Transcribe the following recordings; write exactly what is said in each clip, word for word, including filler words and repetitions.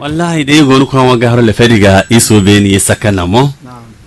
Wallahi, de yi gonu kwan wa gahro le fedi ga iso be ni saka na mo.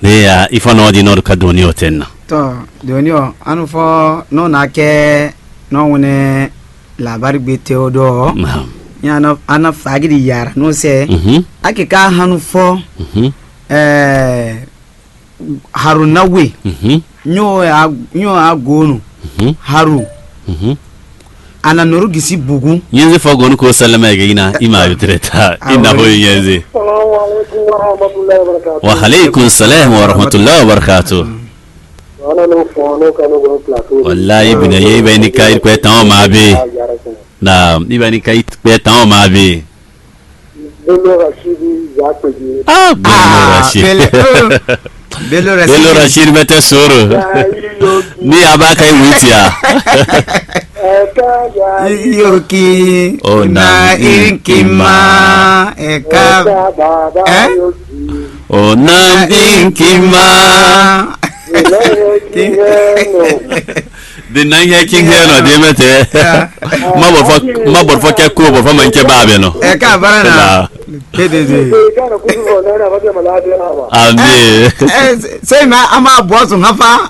De ya ifo no di no ka doni o tenna. To, doni o anu fo no na ke no wune labari gbe te o do. Naam. Ya no ana fagidi yara no se. Mhm. Ake ka hanu fo. Mhm. Eh, Haruna we. Mhm. Nyo a nyo a gonu. Mhm. Haru. Mhm. Ana noru gisi bugu. Nyenze fɔ gonu ko salama ege ina ima yutreta ina ho nyenze. Assalamu alaikum warahmatullahi wabarakatuh. Wa alaikum salam warahmatullahi wabarakatuh. Wana no fo no ka no gonu plateau. Wallahi bina ye iba ni kai kwe tan ma be. Na iba ni kai kwe tan ma be. Bello Rashid Zakpeji. Ah, Bello Ah, Rashid. Bello, oh, Bello Rashid. Bello Rashid mete soro. Ni abaka iwiti ya. Yoki. Oh, na inkima. Eka. Eh? Oh, na inkima. De na ihe ki ihe nɔ de mɛ tɛ. Ma bɔ fɔ ma bɔ fɔ kɛ ko bɔ fɔ ma kɛ ba bɛ nɔ. Eka bara na. Dede de. Ami. Se ma ama bɔ sun hafa.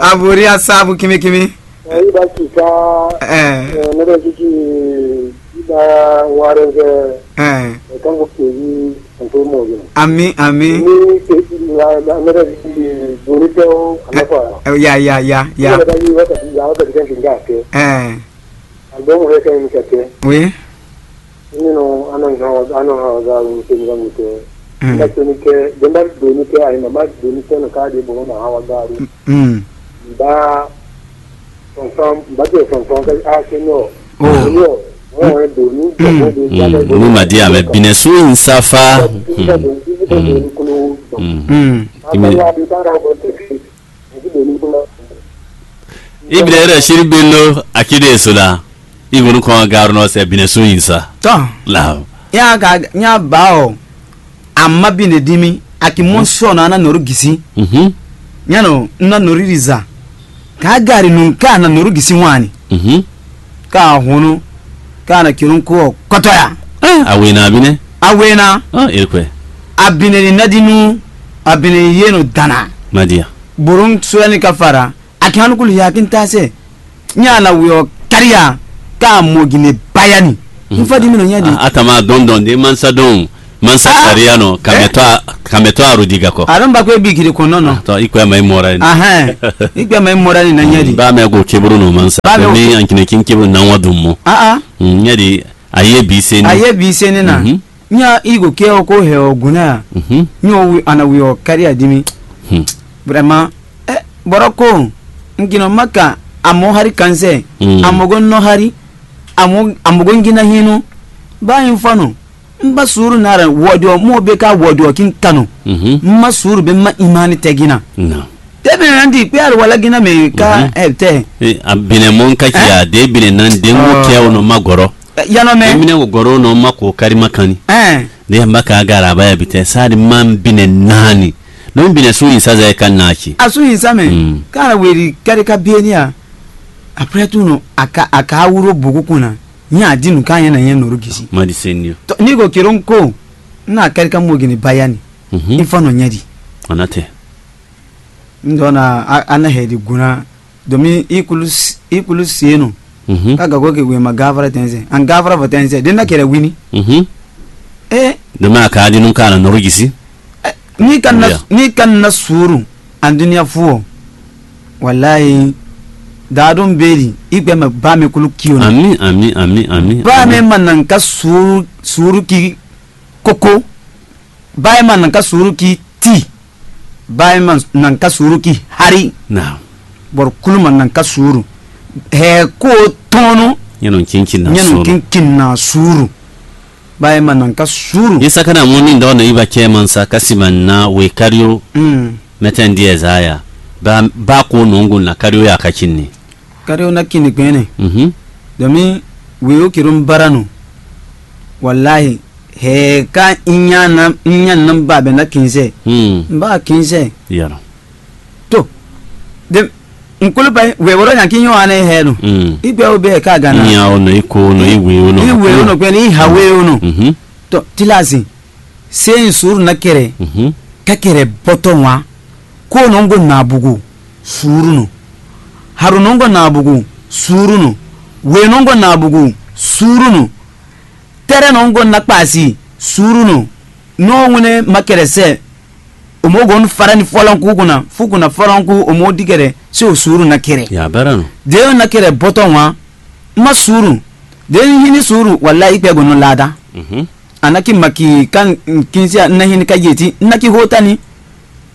Abori asabu kimi kimi. Ayi ba kika. Eh. Ne bɛ kiki. Ida warɛzɛ. Eh. Ɛkan ko kpeyi nto mɔ yɛ. Ami ami. Ni ke la la ne bɛ kiki doni tɛ o kana fa. Eh, ya ya ya ya. Ne bɛ yi wa ka ya wa ka kan kinga ke. Eh. Album re kan ni ka ke. Oui. Ni no ano ha ano ha ga lu ke ni ga mu ke. Mm. Ba ke ni ke, den ba doni ke ayi ma ba doni ke no ka de bo ma ha wa ga lu. Mm. Ba sɔnsɔn ba de sɔnsɔn ke a ke nɔ. Oh. Nɔ. Wọ́n wọ́n do ní. Mm. Ní màdí àmì bìnẹ̀ sún ìsáfá. Mm. Mm. Ìmì. Ibile rẹ̀ ṣírí gbé ló akéde èso la. Ìwòlú kan garunɔ sɛ bìnẹ̀ sún ìsá. Tọ́. La. Yá ka yá ba ɔ. Amma bine dimi aki mɔ sɔ na na noru gisi. Mhm. Nyano na noru riza. Ka gari nun ka na noru gisi wani. Mhm. Ka hunu ka na kirun ko kɔtɔya. Eh, awena abine. Awena. Ah, ekwe. Abine ni nadinu abine yeno dana. Madia. Burun suwani ka fara. Aki hanukulu ya kin tase. Nya na wiɔ kariya ka mo gine bayani. Nfa di mi no nya di. Atama dɔndɔn de mansa dɔn. Mansa kariya nɔ kamɛtɔ kamɛtɔ arodiga kɔ. Aɖɔn ba ko ebi gidi kɔnɔ nɔ. Tɔ ikpɛ ma imɔra ni. Ahɛn. Ikpɛ ma imɔra ni na nya di. Ba mɛ ko keburu nɔ mansa. Ba mɛ ko. Ni ankine kin keburu na wa dun mɔ. Ah ah. Nya di. Aye bi se ni. Aye bi se ni na. Mhm. Nya igo ke o ko he o guna ya. Mhm. Nyo wi ana wi o kariya di mi. Hmm. Vraiment. Eh, bɔrɔ ko. Ngino maka amo hari kanse. Mm. Amogo no hari. Amo amogo ngina hinu. Ba infano. Mba suru nara wodo mo be ka wodo kin kano. Mhm. Ma suru be ma imani tegina. No. Tebe nandi pe ar wala gina me ka. Mhm. Eh te. Eh, abine mon ka kiya de bine nan de mo ke o no magoro. Yanɔ mɛ. Emine wo gɔrɔ nɔ ma ko kari ma kanni. Ɛn. Ne yamba ka gara ba ya bitɛ sadi man bine nani. No bine su yin saza ka nachi. A su yin sa mɛ. Mm. Kara weri kari ka bieni a. Après tout no aka aka wuro bugu kuna. Nya dinu ka yɛn na yɛn noro gisi. Ma di senio. To ni go kiron ko. Na kari ka mo gini bayani. Mhm. Ifo no nyadi. Anate. Ndo na ana hedi guna. Domin i kulu s- i kulu sienu. Mhm. Ka gago ke wema gavara tense. An gavara va tense. Den na kere wini. Mhm. Eh, Dama ka di nun ka na noro gisi. Ni kan na Yeah. Ni kan na suru. An dunia fuo. Wallahi. Dadum beri. I gbe ma ba me kulu kiyo. Ami ami ami ami. Ba me manan ka suru suru ki koko. Bayi ma nan ka suuru ki ti. Bayi ma nan ka suuru ki hari. Naam. Bɔrɔ kulu ma nan ka suuru. Hɛ ko tɔnu. Nyɛnu kinkin na nyɛnu suuru. Kinkin na suuru. Bayi ma nan ka suuru. Ni sakana muni ndɔ na iba cɛ man sa kasi man na we kario. Mm. Mɛtɛn diɛ zaya. Ba ba ko nungu na kario ya ka kinni. Kadi o na kini gbɛnɛ. Mhm. Domin we o kiro n bara no. Wallahi. He ka inya na inya na ba be na kinze. Hmm. N ba kinze. Yara. To. De Nkulupe wɛ woro nya ki nyɔ ane hɛ no. Mm. Igbe o be ka gana. Nya o no iko no iwe o no. Iwe o no pe ni hawe o no. Mhm. To tilazi. Se in suru na kere. Mhm. Ka kere boto wa. Ko no ngo na bugu suru no. Haru no ngo na bugu suru no. We no ngo na bugu suru no. Tere no ngo na kpasi suru no. No wune ma kere se. O mo gon fara ni fɔlɔnku kuna, fu kuna fɔlɔnku o mo di kɛɖɛ, se o suuru na kɛɖɛ. Ya bara no. De o na kɛɖɛ bɔtɔ wan, ma suuru. De n hini suuru, wala ikpɛ gon nɔ lada. Mhm. Anaki maki kan kinsia na hini ka yeti, naki hota ni.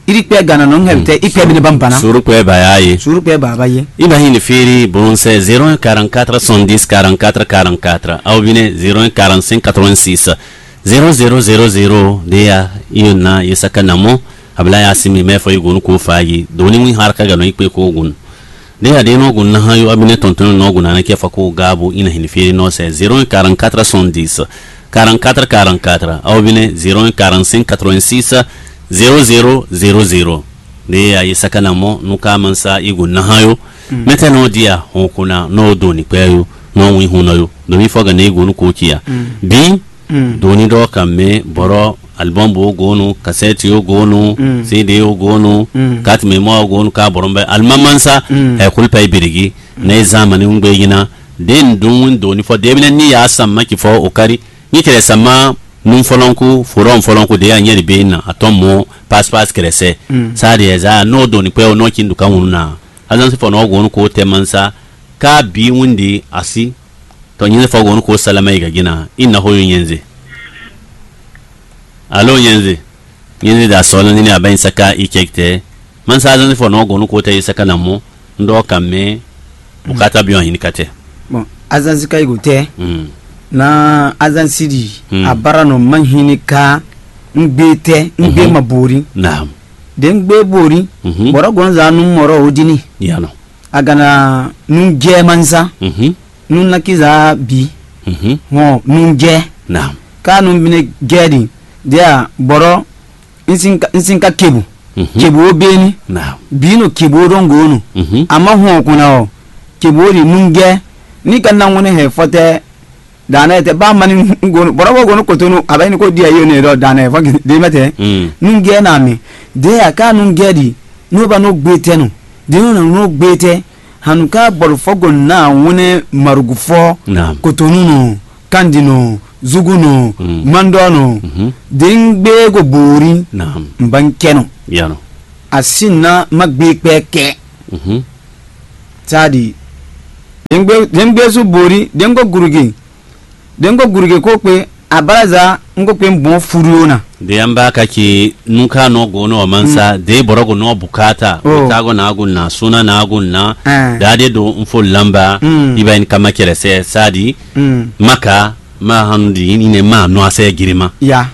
Iri kpɛ gana no hɛbi tɛ, ikpɛ bi ne ban bana. Suuru kpɛ ba ya ye. Suuru kpɛ ba ba ye. I ba hini firi bon c'est zéro un quarante-quatre soixante-dix quarante-quatre quarante-quatre. Aw bi ne zéro un quarante-cinq quatre-vingt-six. Zero zero zero zero de ya iyo na ye saka na mɔ. Abla ya simi mɛ fɔ igun ko fa yi do ni wi har ka gano ikpe ko gun. De ya de no gun na ha yo abine tonton no gun na ke fa ko gabo ina hin firi no se zero un quarante-quatre soixante-dix quarante-quatre quarante-quatre, aw bine zero un quarante-cinq quatre-vingt-six zéro zéro zéro zéro. De ya ye saka na mɔ nu ka mansa igun na ha yo. Mɛtɛ no dia hon kuna no do ni kpɛ yo no wi hun no yo. Do mi fɔ gane igun ko kia. Bi Mm. Doni ɖɔ ka mɛ bɔrɔ album bo gonu, cassette yo gonu, Mm. C D yo gonu, Mm. carte mémoire yo gonu ka bɔrɔ bɛ alimamansa Mm. ɛ kulpa ibirigi ne zamani ngbe yina. Den dun doni fɔ debine ni ya sama ki fɔ okari ni kele sama nun fɔlɔnku forum fɔlɔnku de ya nyɛri be na atɔn mɔ pass pass kele sɛ. Mm. Sa de za no doni pɛ o no kin du ka wunu na. Azan si fɔ no gonu ko tɛ mansa ka bi wundi asi. Tɔ nyɛnzɛ fɔ gɔnu ko salama yi gagina i na xo yo nyɛnzɛ. Alo nyɛnzɛ. Nyɛnzɛ da sɔ nani a bɛ saka i cɛ tɛ. Man sa zan fɔ nɔ gɔnu ko tɛ i saka na mɔ. Ndɔ ka mɛ. Bukata bi wan hini katɛ. Bon, azan sika yi go tɛ. Mm. Na azan sidi. Mm. A bara nɔ man hini ka. Ngbe tɛ ngbe Mhm. ma bori. Naam. De ngbe bori. Mhm. Bɔrɔ gɔn za nu mɔrɔ odini. Yano. A gana nu jɛ mansa. Mhm. Nu naki za bi. Mhm. Hɔn nu jɛ. Naam. Ka nu bine jɛ di. Dia bɔrɔ. Nsin ka kebu. Mhm. Kebu o beni. Naam. Bi no kebu o dongo no. Mhm. Ama hɔn kuna o. Kebu o di nu jɛ. Ni ka na ŋone hɛ fɔtɛ. Dana tɛ ba mani gonu bɔrɔ bo gonu kotonu. Aba ni ko dia yo ne do dana fɔ de mɛtɛ. Mm. Nu jɛ na mi. De a ka nu jɛ di. N'o ba n'o gbe tɛ no. De n'o na n'o gbe tɛ. Hanu ka bɔlu fɔ go na wune marugu fɔ. Naam. Kotonu no, kandi no, zugu no, Mm. mandɔ no. Mhm. De n gbe go boori. Naam. N ba n kɛ no. Yano. A si na ma gbe kpɛ kɛ. Mhm. Sadi. De n gbe de n gbe su boori de n go gurugi. De n ko guruge ko kpe abalaza n ko kpe n bɔn furu na. De an ba ka ki nu ka nɔ go nɔ mansa de bɔrɔ go nɔ bukata. Oh. Ka go na go na suna na go na. Eh. Da de do n fo lamba. Mm. Iba in kama kɛlɛ sɛ sadi. Mm. Maka ma hanu di ni ne ma nɔ asɛ girima. Ya.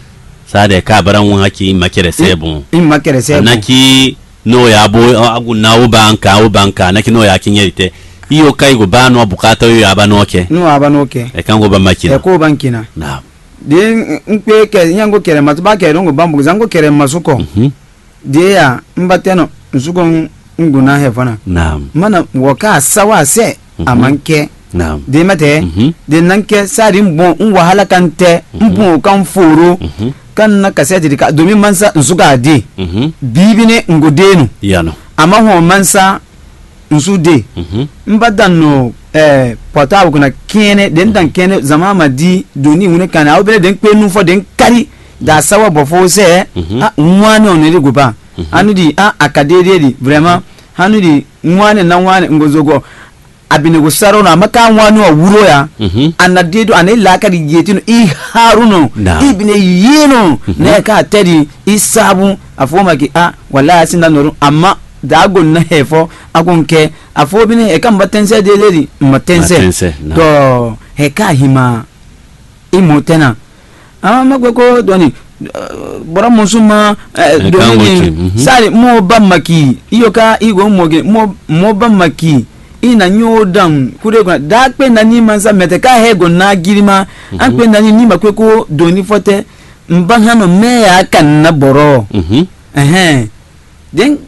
Sa de ka bara ŋun haki ma kɛlɛ sɛ bon. In ma kɛlɛ sɛ bon. Naki. N'o y'a bo agun na o ba n kan o ba n kan naki n'o y'a kinyɛ tɛ. I yo ka yi go ba nɔ bukata yo y'a ba nɔ kɛ. N'o a ba n'o kɛ. Ɛ kan go ba ma kina. Ɛ k'o ba n kina. Naam. De n kpe kɛ n yango kɛlɛ ma to ba kɛ n'o go ba n bugu zango kɛlɛ ma su kɔ. Mhm. De ya n ba tɛ nɔ n su kɔ n go na hɛ fana. Naam. Mana wɔ ka sa wa sɛ. Mhm. A ma n kɛ. Naam. De ma tɛ. Mhm. De na n kɛ sa de n bɔn n wahala kan tɛ n bɔn o kan foro. Mhm. Kan na kasɛ de ka domi mansa n su ka de. Mhm. Bibi ne n go de no. Yano. A ma hɔn mansa n su de. Mhm. N ba dan no eh, portable kuna kɛnɛ de n dan kɛnɛ zama ma di doni wune kan awo bele de n kpe nu fɔ de n kari da sawa bɔ fo sɛ. Mhm. A ŋwa ne ɔnɛ de go ba. Mhm. Anu di a akadede di vraiment. Anu di ŋwa ne na ŋwa ne n go zogo. Abinegosaro na maka wani wa wuro ya. Mhm. Ana dedo ana ilaka di yetino i haruno. Naam. Ibine yino. Mhm. Ne ka tedi i sabu afoma ki a wala ya sinda noru ama dago na hefo akonke afo bine e ka mba tense de leli ma tense. Ma tense, naam. Do he ka hima i mo tena. Ah, ma gbe ko dɔni bɔrɔ musu ma. Dɔni ni sari mo ba maki iyo ka i go mo ge mo mo ba maki i na nyo dan kude kuna da pe na ni mansa mete ka he go na girima. An pe na ni ni ma kwe ko dɔni fɔtɛ n ba hano me ya kan na bɔrɔ. Mhm. Ɛhɛn. Den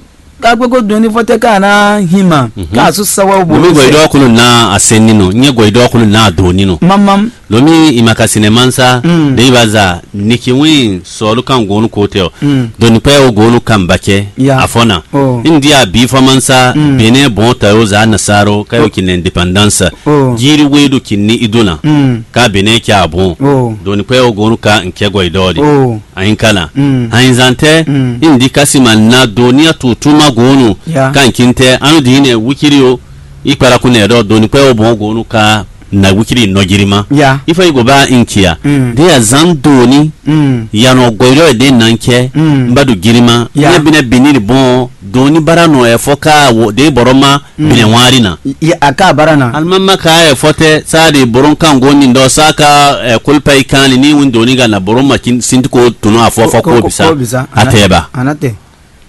Ka gbé kó dun ní fɔtɛ ká ná hin ma. Ká asú sawa wo Lomi bolo gɔyi sɛ. Dɔɔ kolo na asɛn nínú, nyɛ gɔyi dɔɔ kolo na do nínú. Mamam. Lomi imakasine mansa, Mm. de ibaza, niki win sɔlu kan gonu kote o. Mm. Doni pɛ o gonu kan bakɛ. Ya. Afɔna. Oh. Indi a bi fɔ mansa, Mm. bene bon ta yo za nasaro, kayo Oh. kin indépendance. Oh. Jiri wedu kin ni iduna. Mm. Ka bene kya bon. Oh. Doni pɛ o gonu ka nkɛ gɔyi dɔɔ de. Oh. Ayinkana. Mm. Ayinzantɛ, Mm. indi kasima na doni a tutuma gonu. Ya. Kan kintɛ, anu dine wikiri o. Ikpara kun nɛ dɔ doni pɛ o bon gonu ka na wikiri nɔjirima. Ya. Ifɔ yi go ba inkia. Mm. De a zan doni. Mm. Yanɔ gɔyɔ de nan kɛ. Mm. N ba do girima. Ya. Ne bine bini bon doni bara nɔ ɛ fɔ ka wo de bɔrɔ ma Mm. bine wari na. Ya, a ka bara na. Alima ma ka ɛ fɔ tɛ sa de boron kan go ni dɔ sa ka ɛ kolpa i kan ni ni win doni ga na boron ma kin sinti ko tunu afɔ fɔ Ko- ko ko- bisa. Ko bisa. Atɛba. Anate.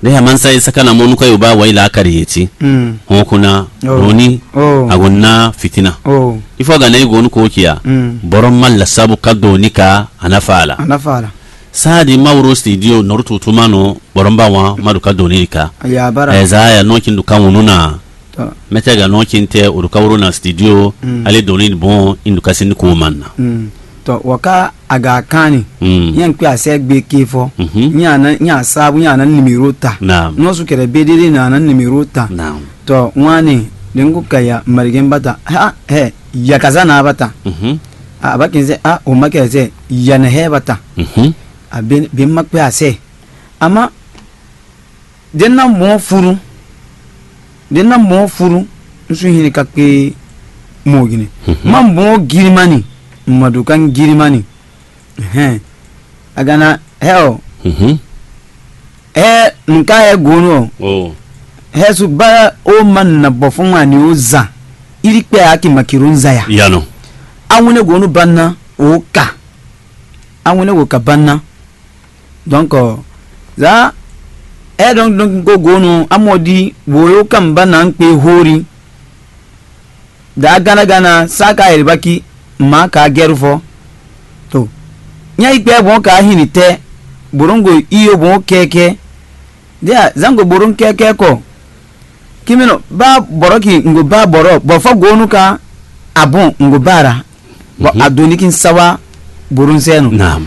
Ne ya mansa ye saka na mɔnu ka yoba wa ila akari yeti. Mm. Hon kuna Oh. Doni Oh. Agonna fitina. Oh. Ifo ga na igonu ko kia. Mm. Boron mal la sabu ka doni ka anafa ala. Anafa ala. Sa di mawro studio noru tutuma no boron ba wa madu ka doni ka. Ya bara. Eza ya no kin du ka wunu na. Tɔ. Mɛtɛ ga nɔ kin tɛ o ka wuro na studio. Mm. Ale doni bon indu ka sin ko man na. Mm. Tɔ wɔ ka a ga kan ni. Mm. Nyɛ n kpe asɛ gbe ke fɔ. Mhm. Nyɛ ana nyɛ asabu nyɛ ana nimero ta. Naam. Nɔ su kɛrɛ be de de na ana nimero ta. Naam. Tɔ wani de n ko ka ya marigɛn ba ta. Ha hɛ yakaza na ba ta. Mhm. A ba kin sɛ a o ma kɛ sɛ yanɛ hɛ ba ta. Mhm. A be be ma kpe asɛ. Ama de na mɔ furu de na mɔ furu. N su hin ka kpe mɔ gine. Mhm. Ma mɔ girimani. Ma do kan girimani. Hɛn. Agana hɛ o. Mhm. Hɛ nka hɛ gonu o. Oh. Hɛ su ba o ma na bɔ fún ma ni o zan. Iri kpɛ a ki ma kiro nza ya. Yano. Awune gonu ba na o ka. Awune go ka ba na. Donc, za e ɖɔn ɖɔn gogonu amɔdi woyo kan ba na kpe hori. Da gana gana sa ka eribaki ma ka gɛru fɔ. To. Nya ikpe bon ka hini tɛ. Borongo iyo bon kɛkɛ. Dia zango boron kɛkɛ kɔ. Kimino ba bɔrɔ ki ngo ba bɔrɔ bɔ fɔ gonu ka abun ngo bara. Bɔ Mhm. Adoni kin sawa boron sɛnu. Naam.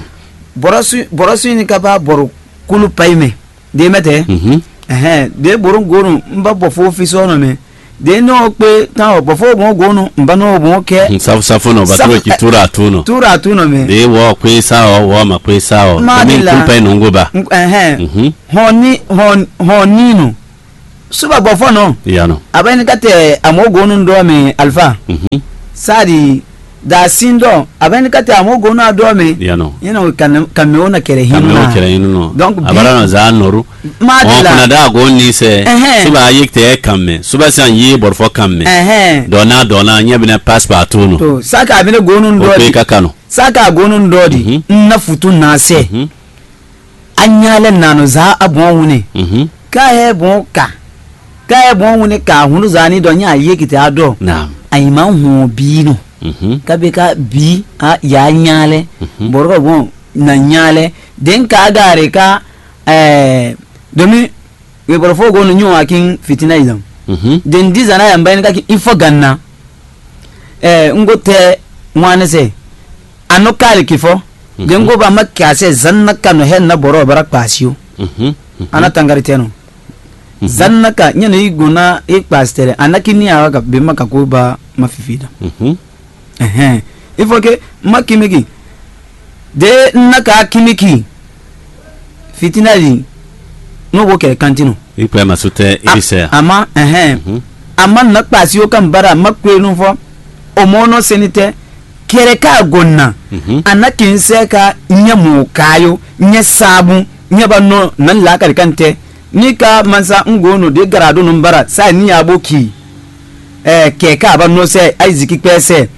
Bɔrɔ su bɔrɔ su ni ka ba bɔrɔ kulu payi mɛ. De mɛ tɛ. Mhm. Ɛhɛn, de boron gonu n ba bɔ fo fi sɔ nɔ mɛ. De nɔ kpe tan o bɔ fo bon gonu n ba nɔ bon kɛ. Mhm, safu safu nɔ ba Safu- tro ki tura tu nɔ. Tura tu nɔ mɛ. De wɔ kpe sa o wɔ ma kpe sa o. Ma Domi de la. Kulu payi nɔ ngo ba. N- Ɛhɛn. Mhm. Hɔn ni hɔn hɔn ni nu. Suba gbɔ fɔ nɔ. Yano. Abɛni ka tɛ amɔ gonu dɔ mi alfa. Mhm. Sadi da sin dɔ abɛni ka tɛ amɔ gonu a dɔ mi. Yano. Yɛn o kan kan mi o na kɛrɛ hinu Kame o na. Kɛrɛ hinu nɔ. Donc bi Abara na za nɔru. Ma de Ɔn la. Kuna da go ni sɛ. Ɛhɛn. Suba ayi tɛ kan mɛ. Suba san yi bɔrɔfɔ kan mɛ. Ɛhɛn. Dɔna dɔna nyɛ bi na passe partout no. To saka abɛni gonu O dɔ pe di. Ka kanu. Saka gonu dɔ di. Mhm. Na futu na sɛ. Mhm. Anyalɛ nanu za abɔn wune. Mhm. Ka hɛ bɔn ka. Ka hɛ bɔn wune ka hunu za ni dɔ nya ye kite adɔ. Naam. Ayi ma hun bi no. Mhm. Ka be ka bi a ya nyalɛ. Mhm. Bɔrɔ bɔn na nyalɛ. Den ka gare ka eh domi we bɔrɔ fo go no nyu akin fitina izam. Mhm. Den di zana ya mbayin ka ki ifo ganna. Eh ngo te wane se. Ano kali kifo. Mhm. Dengo ba ma kase zanna kano hen na boro bara kpasio. Mhm. Mhm. Ana tangari teno. Mhm. Zanna ka nyene igona e kpastere ana kini awa ka be ma ka ko ba ma fifida. Mhm. Ehe. Il faut que ma kimiki. De na ka kimiki. Fitina di. No bo kere kantino. Ikpɛ ma su tɛ irisɛ. Ama ehe. Mhm. Ama na kpasio kan bara ma kwenu fo. Omono senitɛ. Kɛrɛ ka gonna. Mhm. Ana kin sɛ ka nyɛ mo kayo nyɛ sabu nyɛ ba no nan la kari kan tɛ. Ni ka mansa ngo no de garado no bara sa ni abo ki. Eh, kɛ ka ba no sɛ aiziki kpɛ sɛ.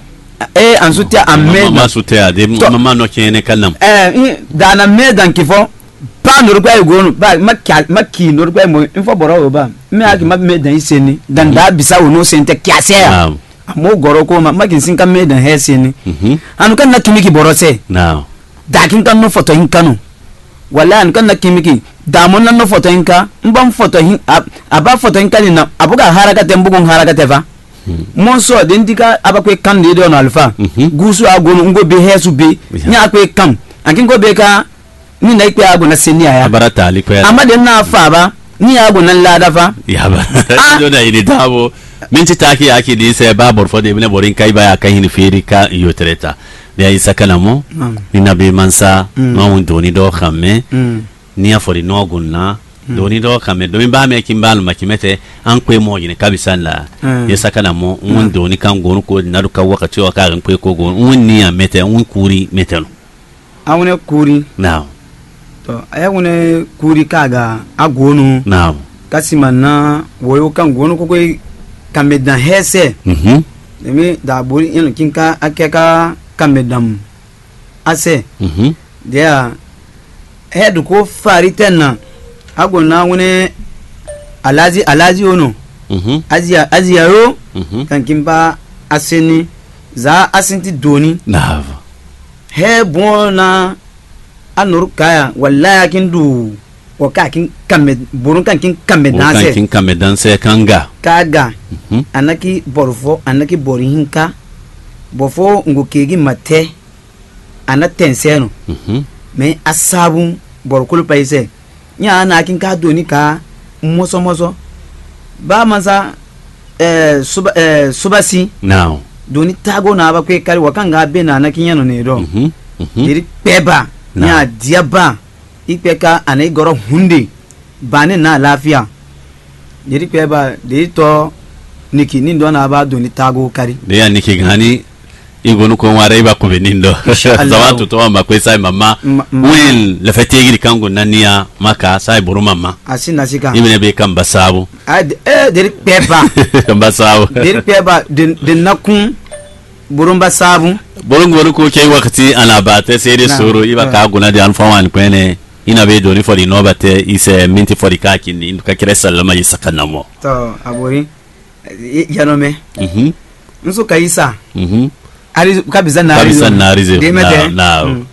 Eh, ansu tɛ amɛ. Ma su tɛ ade ma ma no kɛnɛ ka nam. Eh, da na mɛ dan ki fɔ. Pa no kpɛ go no ba ma ki ma ki no kpɛ mo. Info boro ba. Me aki ma me dan iseni. Dan da bisa wo no sente kiasɛ. Naam. Amo gɔrɔ ko ma ma kin sin ka me dan hɛ seni. Mhm. Anu kan na kimi ki boro sɛ. Naam. Da kin kan no foto in kanu. Wala anu kan na kimi ki. Damo na nɔ fɔtɔ yin ka, n bɔ n fɔtɔ yin, a ba fɔtɔ yin ka ni na, a bɔ ka hara ka tɛ, n bɔ ko hara ka tɛ va. Mɔ sɔ de n di ka a ba ko kan de dɔ na alfa. Gusu a gonu n ko be hɛ su be. Nya a ko kan. A kin ko be ka ni na ikpe a go na seni a ya. Abara ta ali kwɛ. A ma de na fa ba ni a go na la da fa. Yaba. Dɔ da yi de dabo. Min ti taki aki di sɛ ba bɔrfɔ de bine bɔri ka iba ya ka hin feri ka yotreta. De ayi sakana mo. Ni na be mansa. Ma un doni dɔ xamɛ. Ni a fɔ di nɔ gun na. Doni dɔ xamɛ domi ba mɛ kin ba luma kin mɛtɛ. An kwe mɔ yine kabisa la. Ye sakana mo un doni kan gonu ko na du ka wakati wa ka an kwe ko gonu un ni a mɛtɛ un kuri mɛtɛ no. Awunɛ kuri. Naam. Tɔ ayɛwunɛ kuri kaga agonu. Naam. Kasima na woyo kan gonu koko kamɛ dan hɛsɛ. Mhm. Emi da bori yɛn kinka akɛ ka kamɛ dan asɛ. Mhm. Dia hɛ du ko fari tɛ na. Agonu awunɛ alazi alazi ono. Mhm. Azia azia yo. Mhm. Kan kimba aseni za asinti doni. Naam. Hɛ bɔn na anuru kaya wala ya kin du. Wɔ ka kin kamɛ bonu kan kin kamɛ O kan dansɛ kin kamɛ dansɛ kanga. Kaga. Mhm. Anaki bɔrufɔ anaki bɔri hinka. Bɔfɔ ngo kegi matɛ. Ana tɛnsɛ no. Mhm. Mɛ asabu bɔrukolo pa isɛ. Nya ana kin ka doni ka mɔsɔmɔsɔ. Ba masa eh, suba eh, subasi. Now. Doni tago na ba kwe kari wɔ kanga be na anaki nya no ne dɔ. Mhm. Mhm. Deri kpɛ ba. Now. Nya dia ba. Ikpɛ ka ana igɔrɔ hunde. Ba ne na lafiya. Deri kpɛ ba deri tɔ niki ni dɔ na ba doni tago kari. De ya niki gani. Igonu ko wara iba ko be ni dɔ. Inshallah. Zawa to to ma ko sai mama. Win le fe tegiri kango nania maka sai buru mama. Asi nasika. Imene be kamba sabu. Ah, de- eh, deri kpɛ ba. Kamba sabu. Deri kpɛ ba de de nakun burumba sabu. Bolongo ko ke wakati ana ba te sere soro iba ka guna de anfa wan kwene. Ina be doni fɔ di nɔba te ise minti fɔ di ka kini ka kere salama yi sakanamo. To abori. Yanɔmɛ. Mhm. Nso ka isa. Mhm. Ari kabisa na Kabisa na arizo. Demete. Na na. Mm.